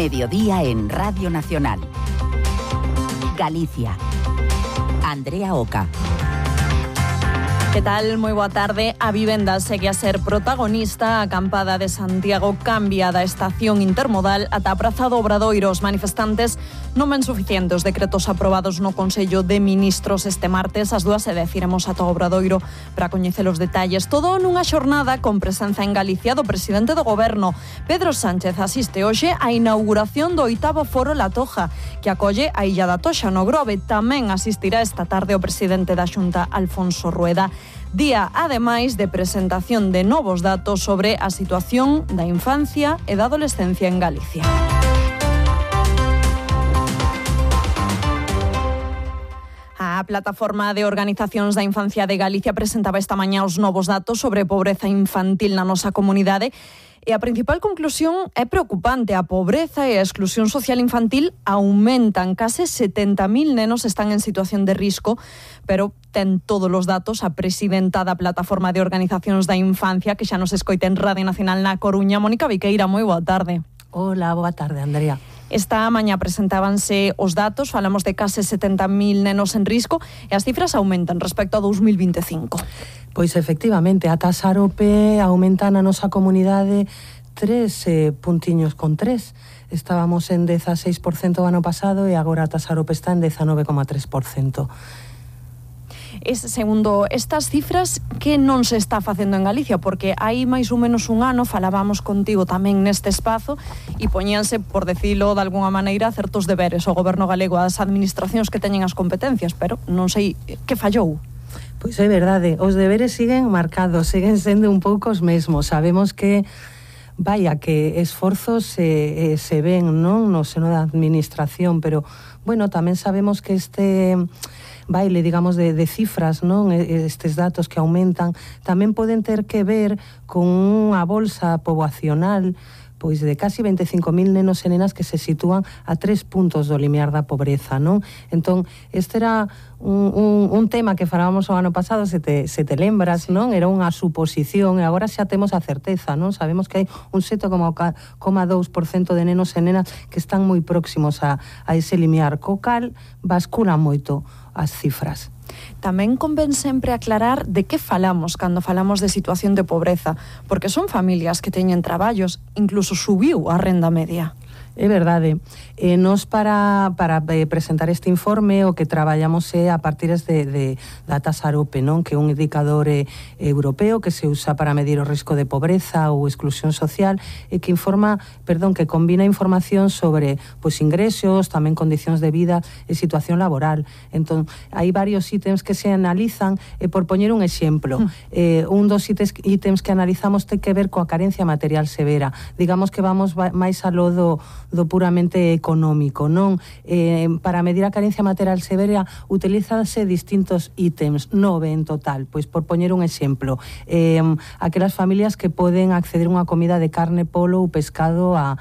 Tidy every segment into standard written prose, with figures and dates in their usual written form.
Mediodía en Radio Nacional. Galicia. Andrea Oca. Que tal? Moi boa tarde. A vivenda segue a ser protagonista. A acampada de Santiago cambia da estación intermodal ata a Praza do Obradoiro. Os manifestantes non ven suficientes os decretos aprobados no Consello de Ministros este martes. Ás 2:10 iremos ata o Obradoiro para coñecer os detalles. Todo nunha xornada con presenza en Galicia do presidente do Goberno. Pedro Sánchez asiste hoxe á inauguración do 8º Foro La Toja, que acolle a Illa da Toxa no Grove. Tamén asistirá esta tarde o presidente da Xunta, Alfonso Rueda. Día, ademais, de presentación de novos datos sobre a situación da infancia e da adolescencia en Galicia. A plataforma de organizacións da infancia de Galicia presentaba esta mañá os novos datos sobre pobreza infantil na nosa comunidade. E a principal conclusión é preocupante. A pobreza e a exclusión social infantil aumentan. Case 70.000 nenos están en situación de risco, pero ten todos os datos a presidenta da Plataforma de Organizacións da Infancia, que xa nos escoita en Radio Nacional na Coruña. Mónica Viqueira, moi boa tarde. Hola, boa tarde, Andrea. Esta mañá presentábanse os datos, falamos de case 70.000 nenos en risco e as cifras aumentan respecto a 2025. Pois efectivamente, a taxa AROPE aumenta na nosa comunidade 3 puntiños con 3. Estábamos en 16% o ano pasado e agora a taxa AROPE está en 19,3%. Segundo estas cifras, que non se está facendo en Galicia? Porque hai máis ou menos un ano falábamos contigo tamén neste espazo e poñíanse, por decirlo de alguna maneira, certos deberes ao goberno galego, ás administracións que teñen as competencias, pero non sei que fallou. Pois é verdade, os deberes siguen marcados, siguen sendo un pouco os mesmos. Sabemos que que esforzos se ven, non, no seno da administración, pero, bueno, tamén sabemos que este baile, digamos, de cifras, non, estes datos que aumentan, tamén poden ter que ver con unha bolsa poboacional pois de casi 25.000 nenos e nenas que se sitúan a 3 puntos do limiar da pobreza, non? Entón, este era un tema que falábamos o ano pasado, se te lembras, non? Era unha suposición e agora xa temos a certeza, non? Sabemos que hai un 7,2% de nenos e nenas que están moi próximos a ese limiar, co cal basculan moito as cifras. Tamén convén sempre aclarar de que falamos cando falamos de situación de pobreza, porque son familias que teñen traballos, incluso subiu a renda media. É verdade. Nos para presentar este informe o que traballamos é a partir da taxa AROPE, non? Que é un indicador europeo que se usa para medir o risco de pobreza ou exclusión social e que que combina información sobre ingresos, tamén condicións de vida e situación laboral. Entón, hai varios ítems que se analizan e por poñer un exemplo, un dos ítems que analizamos ten que ver coa carencia material severa. Digamos que vamos máis aló do puramente económico, non? Para medir a carencia material severa utilízanse distintos ítems, 9 en total, pois por poñer un exemplo, aquelas familias que poden acceder a unha comida de carne, polo ou pescado a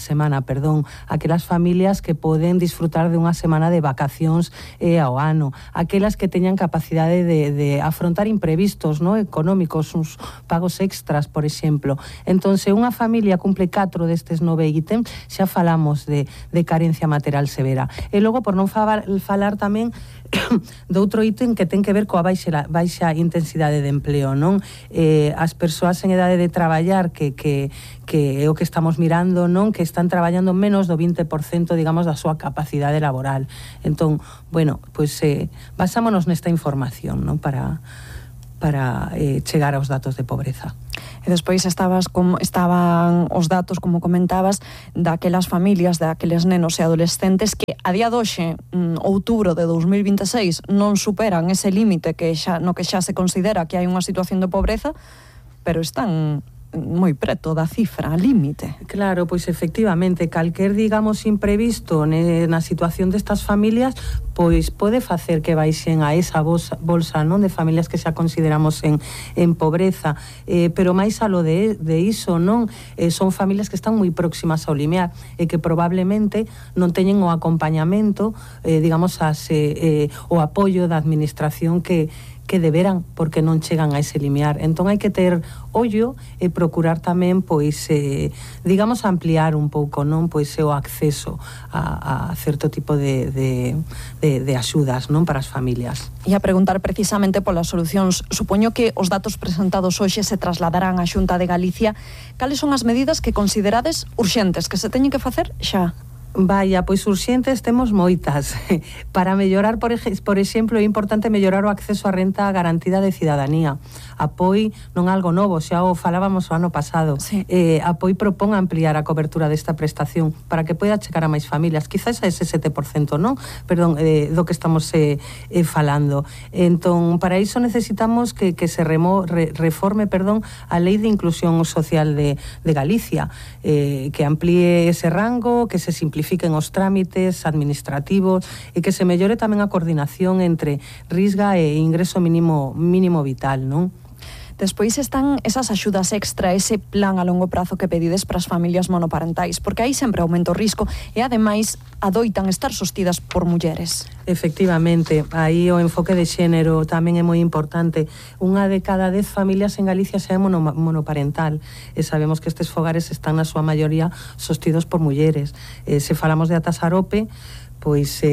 semana, aquelas familias que poden disfrutar de unha semana de vacacións ao ano, aquelas que teñan capacidade de afrontar imprevistos, non, económicos, uns pagos extras, por exemplo. Entón, se unha familia cumple 4 destes 9 ítems, xa falamos de carencia material severa. E logo, por non falar tamén do outro ítem que ten que ver coa baixa intensidade de empleo, non? As persoas en idade de traballar que é o que estamos mirando, non? Que están traballando menos do 20%, digamos, da súa capacidade laboral. Entón, bueno, pois basámonos nesta información, non? Para chegar aos datos de pobreza. E despois estaban os datos, como comentabas, daquelas familias, daqueles nenos e adolescentes que a día de hoxe, outubro de 2026, non superan ese límite no que xa se considera que hai unha situación de pobreza, pero están moi preto da cifra, límite. Claro, pois efectivamente, calquer, digamos, imprevisto na situación destas familias, pois pode facer que baixen a esa bolsa, non, de familias que xa consideramos en pobreza, pero máis aló de iso, non, son familias que están moi próximas ao limiar e que probablemente non teñen o acompañamento, digamos, o apoio da administración que que deberan, porque non chegan a ese limiar. Entón hai que ter ollo e procurar tamén, pois, digamos, ampliar un pouco, non, pois, o acceso a certo tipo de axudas, non, para as familias. E a preguntar precisamente polas solucións. Supoño que os datos presentados hoxe se trasladarán á Xunta de Galicia. Cales son as medidas que considerades urxentes, que se teñen que facer xa? Vaya, pois urxentes temos moitas. Para mellorar, por exemplo, é importante mellorar o acceso á renta garantida de cidadanía. Apoi, non algo novo, xa o falábamos o ano pasado. Sí. Apoi propón ampliar a cobertura desta prestación para que poida chegar a máis familias, quizás a ese 7%, non? Perdón, do que estamos falando. Entón, para iso necesitamos que se reforme, a Lei de Inclusión Social de Galicia, que amplíe ese rango, que se simplifique os trámites administrativos e que se mellore tamén a coordinación entre risga e ingreso mínimo vital, non? Despois están esas axudas extra, ese plan a longo prazo que pedides para as familias monoparentais, porque aí sempre aumenta o risco e, ademais, adoitan estar sostidas por mulleres. Efectivamente, aí o enfoque de xénero tamén é moi importante. Unha de cada 10 familias en Galicia xa é monoparental e sabemos que estes fogares están na súa maioría sostidos por mulleres. Se falamos de Atasarope, pois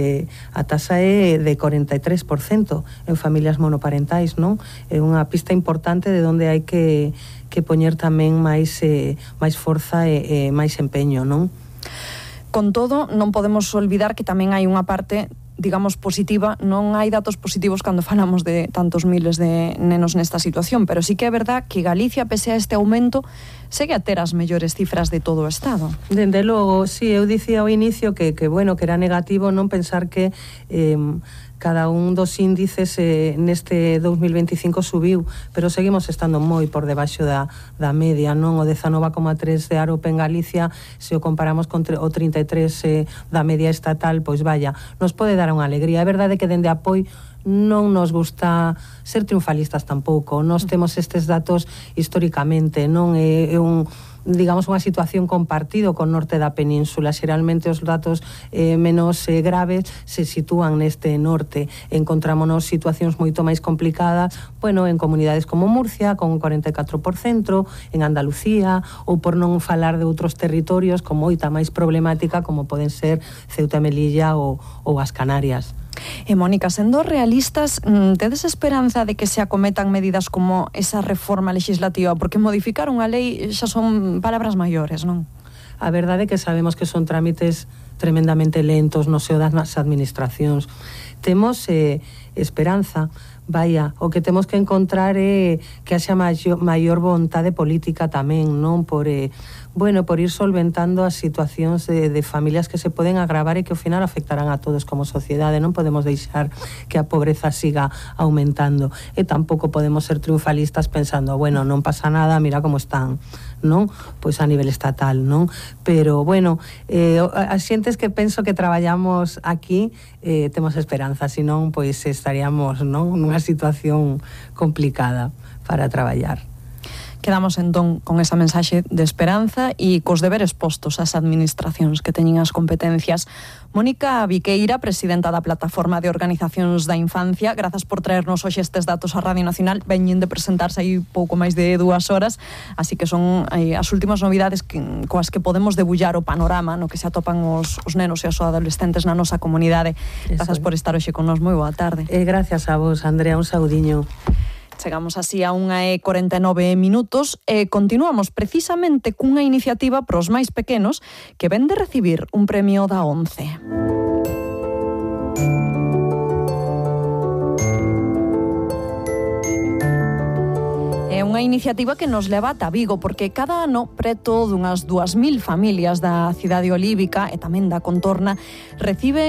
a taxa é de 43% en familias monoparentais, non? É unha pista importante de onde hai que poñer tamén máis forza e máis empeño, non? Con todo, non podemos olvidar que tamén hai unha parte, digamos, positiva. Non hai datos positivos cando falamos de tantos miles de nenos nesta situación, pero sí que é verdad que Galicia, pese a este aumento, segue a ter as mellores cifras de todo o Estado. Dende logo, sí, eu dicía ao inicio que era negativo non pensar que cada un dos índices neste 2025 subiu, pero seguimos estando moi por debaixo da media, non? O 19,3 de Arope en Galicia, se o comparamos con o 33 da media estatal, pois vaya, nos pode dar unha alegría. É verdade que dende Apoi non nos gusta ser triunfalistas tampouco. Nós temos estes datos históricamente, non é digamos, unha situación compartido con norte da península. Xeralmente os datos menos graves se sitúan neste norte. Encontrámonos situacións moito máis complicadas, bueno, en comunidades como Murcia, con un 44%, en Andalucía, ou por non falar de outros territorios con moita máis problemática, como poden ser Ceuta e Melilla ou as Canarias. E Mónica, sendo realistas, tedes esperanza de que se acometan medidas como esa reforma legislativa? Porque modificar unha lei xa son palabras maiores, non? A verdade é que sabemos que son trámites tremendamente lentos no seo das administracións. Temos esperanza. Vaya, o que temos que encontrar é que haxa maior vontade política tamén, non? Por ir solventando as situacións de familias que se poden agravar e que ao final afectarán a todos como sociedade. Non podemos deixar que a pobreza siga aumentando e tampouco podemos ser triunfalistas pensando, bueno, non pasa nada, mira como están, non? Pois a nivel estatal, non? Pero, bueno, as xentes que penso que traballamos aquí temos esperanza, senón, pois estaríamos, non, nunha situación complicada para traballar. Quedamos entón con esa mensaxe de esperanza e cos deberes postos ás administracións que teñen as competencias. Mónica Viqueira, presidenta da Plataforma de Organizacións da Infancia, grazas por traernos hoxe estes datos á Radio Nacional. Veñen de presentarse aí pouco máis de 2 horas, así que son as últimas novidades coas que podemos debullar o panorama no que se atopan os nenos e os adolescentes na nosa comunidade. Grazas por estar hoxe con nos. Moi boa tarde. Gracias a vos, Andrea, un saudiño. Chegamos así a 1:49 e continuamos precisamente cunha iniciativa pros máis pequenos que ven de recibir un premio da ONCE. É unha iniciativa que nos leva ata Vigo, porque cada ano preto dunhas 2.000 familias da cidade olívica e tamén da contorna reciben